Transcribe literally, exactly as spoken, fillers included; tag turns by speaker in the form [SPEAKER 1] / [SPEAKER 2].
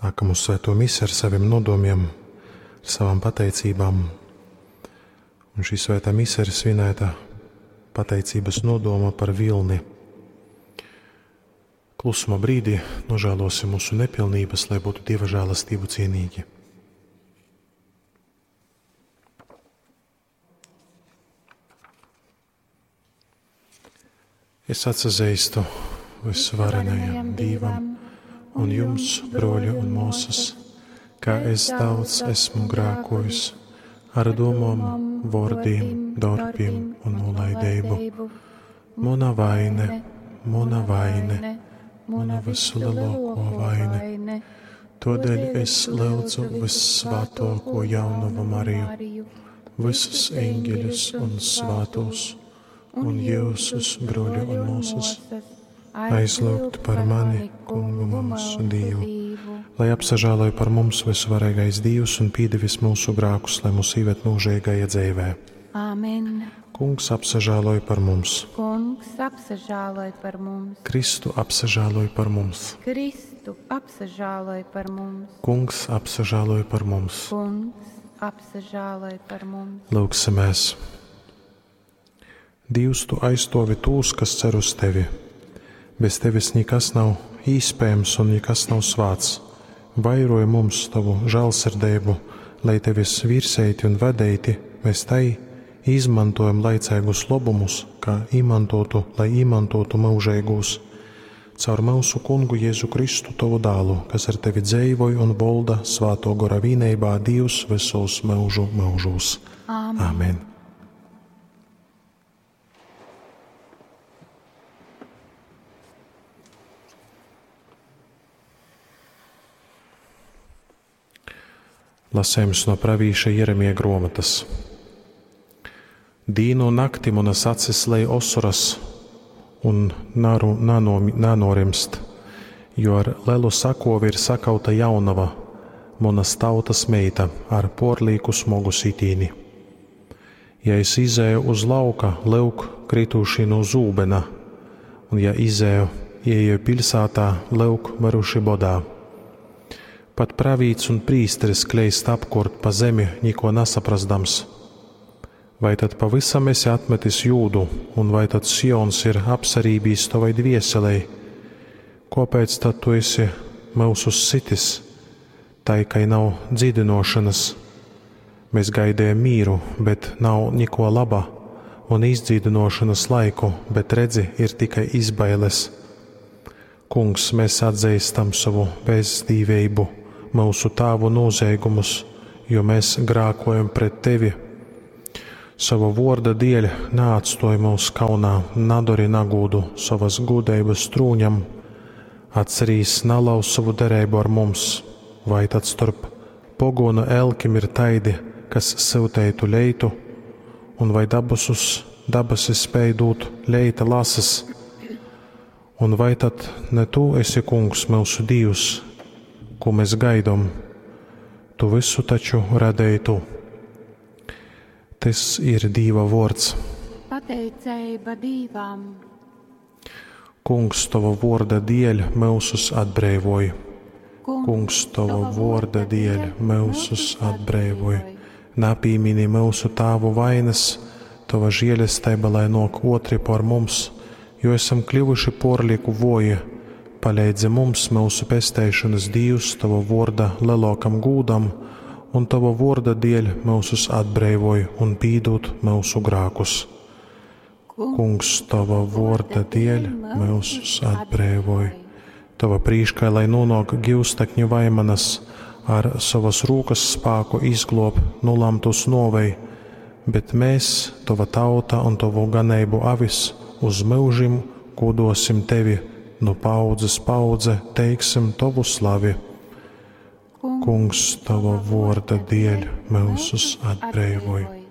[SPEAKER 1] Nākam uz svēto misi ar saviem nodomiem, ar savām pateicībām. Un šī svētā mise ir svinēta pateicības nodoma par vilni. Klusuma brīdī nožēlosim mūsu nepilnības, lai būtu Dieva žēlastību cienīgi. Es atsazīstu visvarenajam Dievam un jums, broļi un māsas, ka es daudz esmu grēkojis ar domām, vārdiem, darbiem un nolaidību. Mana vaine, mana vaine, mana vislielāko vaine. Todēļ es lūdzu vissvētāko jaunavu Mariju, visus eņģeļus un svētos, un jūsus, broļi un māsas, aizlūgt par mani, Kungu mūsu Dievu, lai apsažāloj par mums visvarīgais Dievs un pīdevis mūsu grākus, lai mūs ieved mūžīgajā dzīvē.
[SPEAKER 2] Āmen.
[SPEAKER 1] Kungs apsažāloj par mums.
[SPEAKER 2] Kungs apsažāloj par mums.
[SPEAKER 1] Kristu apsažāloj par mums.
[SPEAKER 2] Kristu apsažāloj par mums.
[SPEAKER 1] Kungs apsažāloj par mums.
[SPEAKER 2] Kungs apsažāloj par mums.
[SPEAKER 1] Lūgsimies! Dievs, tu aizstovi tūs, kas cer uz tevi. Bez tevis nekas nav īspējams un nekas nav svāts. Vairoj mums tavu žēlsirdību, lai tevis virsēti un vedēti mēs tai izmantojam laicīgus labumus, kā imantotu, lai imantotu mūžīgos. Caur mūsu kungu Jēzu Kristu tavu dālu, kas ar tevi dzēvoj un volda svāto gora vīneibā Dievs visos mūžu mūžos.
[SPEAKER 2] Āmen.
[SPEAKER 1] Amen. Lasējums no pravīša Jeremija grāmatas. Dīnu un nakti manas acis lej osoras un naru, nano, nanorimst, jo ar lelu sakovi ir sakauta jaunava, manas tautas meita ar porlīku smogu sitīni. Ja es izēju uz lauka, lūk, krituši no zūbena, un ja izēju, ieeju pilsētā, lūk, miruši bodā. Pat pravīts un prīsteris kleist apkort pa zemi, niko nesaprasdams. Vai tad pavisam esi atmetis jūdu, un vai tad Sions ir apsarībījis tavai dvieselei? Kāpēc tad tu esi mūsus sitis, tai, kai nav dzīdinošanas? Mēs gaidījām mīru, bet nav niko laba, un izdzīdinošanas laiku, bet redzi, ir tikai izbailes. Kungs, mēs atzīstam savu bezdīvību, mūsu tēvu noziegumus, jo mēs grākojam pret tevi. Sava vorda dēļ neatstoj mūs kaunā, nadori nagūdu savas gudrības trūņam, atcerīs nalauz savu derību ar mums, vai tad starp pogonu elkim ir taidi, kas silteitu leitu, un vai dabasus, dabasis spēj dūt leita lases, un vai tad ne tu esi kungs mūsu Dievs, ko mēs gaidom, tu visu taču radēji tu. Tas ir Dieva vārds.
[SPEAKER 2] Pateicība Dievam.
[SPEAKER 1] Kungs, tava vorda dēļ mūsus atbrīvoj. Kungs, tava vorda dēļ mūsus atbrīvoj. Napīmini mūsu tāvu vainas, tava žēlastība, lai nāk otri par mums, jo esam kļuvuši porlieku voji. Palīdzi mums, mūsu pesteišanas Dievs, tava vorda lielākam gūdam, un tava vorda dēļ mūsus atbrīvoj un pīdūt mūsu grākus. Kungs, tava vorda dēļ mūsus atbrīvoj. Tava prīškai, lai nonāk givstekņu vaimanas, ar savas rūkas spāku izglob nulamtus novei, bet mēs, tava tauta un tavu ganību avis, uz mūžim godosim tevi, no paudzes paudze teiksim tavu slavi. Kungs, tava vorda dēļ mūsus atbrīvoj.